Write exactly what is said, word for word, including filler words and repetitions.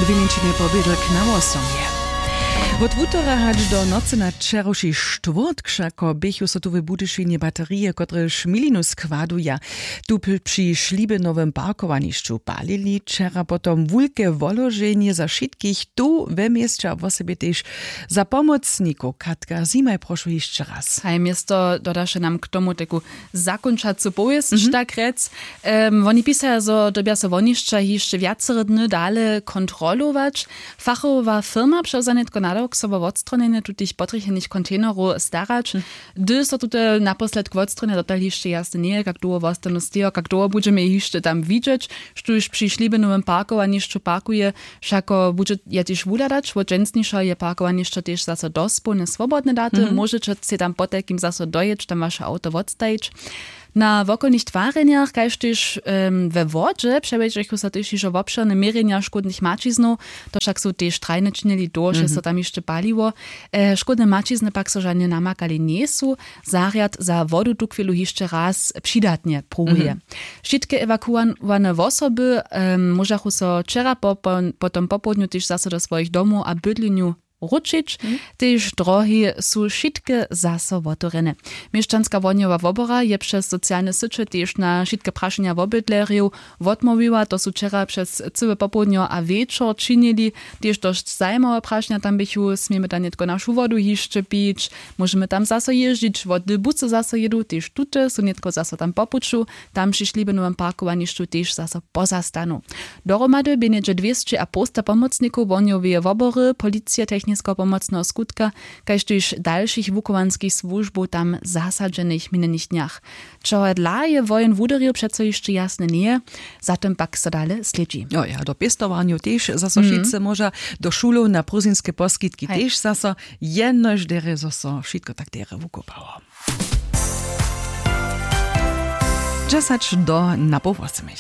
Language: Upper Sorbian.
Dwě mjeńšinje pobědlk na wosomje. Wot wutora hač do nocy na wčerawši štwórtk wšako běchu so tu w Budyšinje baterije, kotrež milinu składuja, tu p- při šlibenowym parkowanišću palili. Wčera potom wulke woloženje za wšitkich tu we měsće a wosebje tež za pomocnikow. Katka Zimaj, prošu hišće raz. Haj, město dodaše nam k tomu taku zakónčacu powěsć, mhm, tak rjec. Em, woni pisaja, zo dyrbja so wonišća hišće wjacore dny dale kontrolować. Fachowa firma přewza nětko nadawk, so wo wotstronjenje tutych potrjechenych kontejnerow starać. Hm. Hdy so tute naposledk wotstronja, dotal hišće jasne njeje, kak dołho wostanu stejo, kak dołho budźemy je hišće tam widźeć. Štóž při šlibenowym parkowanišću parkuje, wšako budźe je tež wuhladać. Wot dźensnišeho je parkowanišćo tež zaso dospołnje swobodne daty. Mhm. Móžeće sej tam potajkim zaso dojěć, tam waše awto wotstajić. Na wokolnych twarjenjach, kaž tež, em, we wodźe, přewjedźechu so tež hižo wobšěrne měrjenja škódnych maćiznow. To wšak su tež trajnje činili, dołho so tam hišće paliło. E, škódne maćizny pak so žanje namakali njejsu. Zarjad za wodu tuchwilu hišće raz přidatnje pruwuje. Mhm. Wšitke ewakuowane wosoby, em, móžachu so wčera po, po, potom popołdnju tež zaso do swojich domow a bydlenju wróćić. Mhm. Tež drohi su wšitke zaso wotewrjene. Měšćanska wohnjowa wobora je přez socialne syće tež na wšitke prašenja wobydlerjow wotmołwiła. To su wčera přez cyłe popołdnjo a wječor činili. Tež dosć zajimawe prašenja tam běchu: Smějemy tam nětko našu wodu hišće pić? Móžemy tam zaso jězdźić? Wot hdy busy zaso jědu? Tež tute su nětko zaso tam po puću. Tam při šlibenowym parkowanišću tež zaso pozastanu. Dohromady bě něhdźe dwěsće a połsta pomocnikow wohnjoweje wobory, policije, techniskeho pomocneho skutka, kaž tež dalšich wuchowanskich słužbow tam zasadźenych w minjenych dnjach. Čehodla je woheń wuderju, přeco hišće jasne njeje, za tym pak so dale slědźi. Jo, ja, do pěstowarnjow tež zaso, mhm, wšitcy móža, do šulow, na prózdninske poskitki, haj, tež zaso, jenož derje, zo so wšitko tak derje wukopało. Dźesać do na poł wosomich.